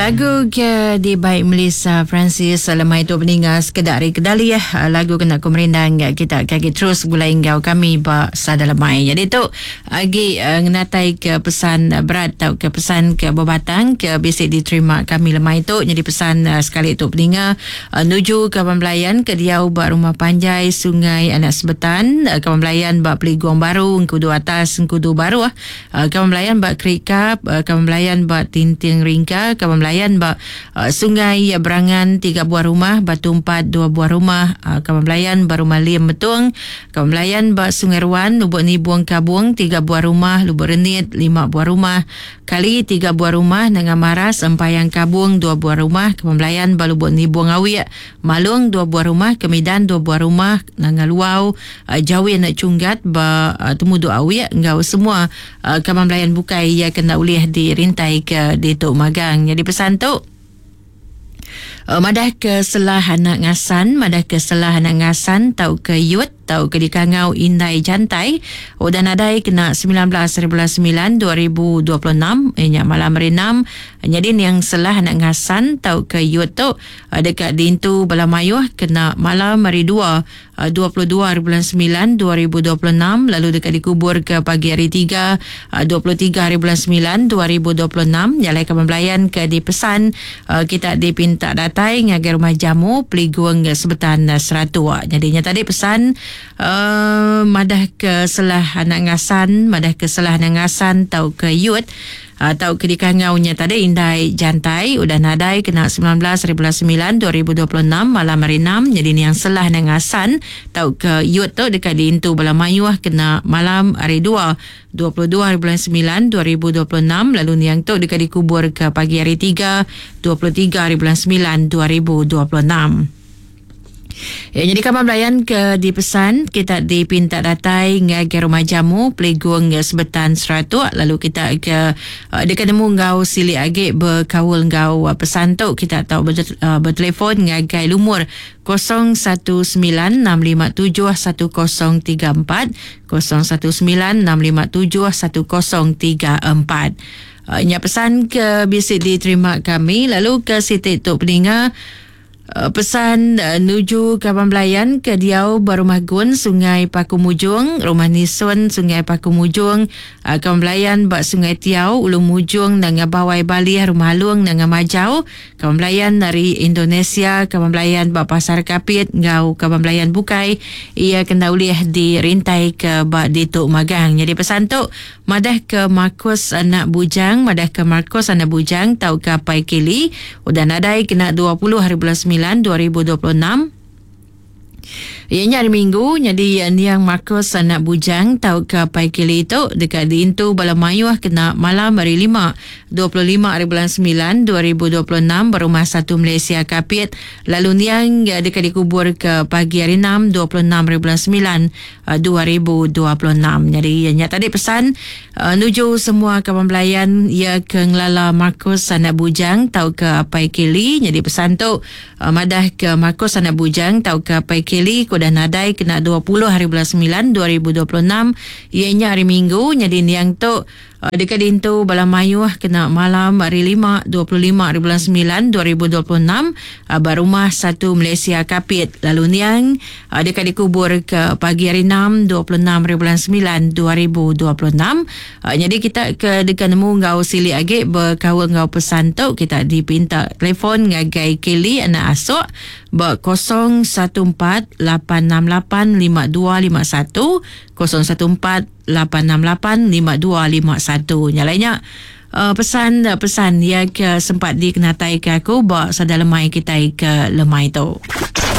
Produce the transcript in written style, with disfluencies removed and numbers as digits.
Lagu ke dibai Melissa Francis lemai tu peninga sekeda ari kedali eh lagu kena ku merindang kita ke agi terus begulai enggau kami ba sada lemai. Jadi tu agi ngenatai ke pesan berat tauka pesan ke bebatang ke bisi diterima kami lemai tu nyadi pesan sekali tu peninga nuju kaban belayan ke diau ba rumah panjai Sungai Anak Sebetan, kaban belayan ba Peligong Baru, Engkudu Atas, Engkudu Baruh. Kaban belayan ba Kerikap, kaban belayan ba Tinting Ringka, kaban belayan ba Sungai Berangan tiga buah rumah, Batu Empat dua buah rumah, kaban belayan ba Rumah Lim Metung, kaban belayan ba Sungai Ruan, Lubok Nibong Kabong tiga buah rumah, Lubok Renit lima buah rumah, Kali tiga buah rumah, Nanga Maras, Empayang Kabong dua buah rumah, kaban belayan ba Lubok Nibong Awik, Malong dua buah rumah, Kemidan dua buah rumah, Nanga Luau, Jawin Chunggat ba Temudu Awik enggau semua kaban belayan bukai iya ke enda ulih dirintai ke ditu magang. Nyadi pesan tu madah ke selah anak ngasan, madah ke selah anak ngasan tauka yut tauka dikangau indai jantai udah nadai kena 19 hari bulan 9 2026 iya nya malam hari enam. Nyadi niang selah anak ngasan tauka yut tu deka diintu bala mayuh kena malam hari dua 22 hari bulan 9 2026 lalu deka dikuburka pagi hari tiga 23 hari bulan 9 2026. Nya alai kaban belayan ke dipesan kita dipinta datai ngagai rumah jamu Peligung Sebetan Seratuk. Nyadi nya tadi pesan madah ke selah anak ngasan, madah ke selah anak ngasan tauka yut tauka dikangau nya tadi indai jantai udah nadai kena 19 hari bulan 9 2026 malam hari enam nyadi niang selah nang asan tauka yut tu deka diintu bala mayuh kena malam hari dua 22 hari bulan 9 2026 lalu niang tu deka dikuburka pagi hari tiga 23 hari bulan 9 2026. Ya, nyadi kaban belayan ke dipesan kita dipinta datai ngagai rumah jamu Peligung Sebetan Seratuk lalu kita ke uh, deka nemu enggau silik agi bekaul enggau uh, pesan tu kita tau uh, bertelefon ngagai lumur 0196571034 0196571034. Nya pesan ke bisi diterima kami lalu ke siti tu peninga Pesan nuju kaban belayan ke diau ba Rumah Gun, Sungai Paku Mujong, Rumah Nison, Sungai Paku Mujong, kaban belayan ba Sungai Tiau, Ulu Mujong, Nanga Bawai Balih, Rumah Alung, Nanga Majau, kaban belayan ari Indonesia, kaban belayan ba Pasar Kapit enggau kaban belayan bukai iya ke enda ulih dirintaika ba ditu magang. Nyadi pesan tu Madahka Marcus anak bujang Madahka Marcus anak bujang tauka apai Kelly udah nadai kena 20 hari bulan 9 2026. Iya nya hari Minggu nyadi niang Marcus anak bujang tauka apai Kelly tu deka diintu bala mayuh kena malam hari Lima 25 hari bulan 9 2026 ba Rumah Satu Malaysia Kapit lalu niang deka dikuburka pagi hari Enam 26 hari bulan 9 2026. Nyadi iya nya tadi pesan nuju semua kaban belayan iya ke ngelala Marcus anak bujang tauka apai Kelly. Nyadi pesan tu madah ke Marcus anak bujang tauka apai Kelly ke udah nadai kena 20 hari bulan 9 2026 iya nya hari Minggu. Nyadi niang tu Deka diintu bala mayuh kena malam hari Lima, 25 hari bulan 9, 2026 ba Rumah Satu Malaysia Kapit lalu niang deka dikubur ke pagi hari Enam, 26 hari bulan 9, 2026. Nyadi kita ke deka nemu enggau silik agi bekaul enggau pesan tu kita dipinta telefon ngagai Kelly anak Asok ba 014 868 5251 014 868 5251. Nya alai nya uh, pesan uh, pesan ya ke sempat dikenatai ke aku ba sada lemai kitai ke lemai tu.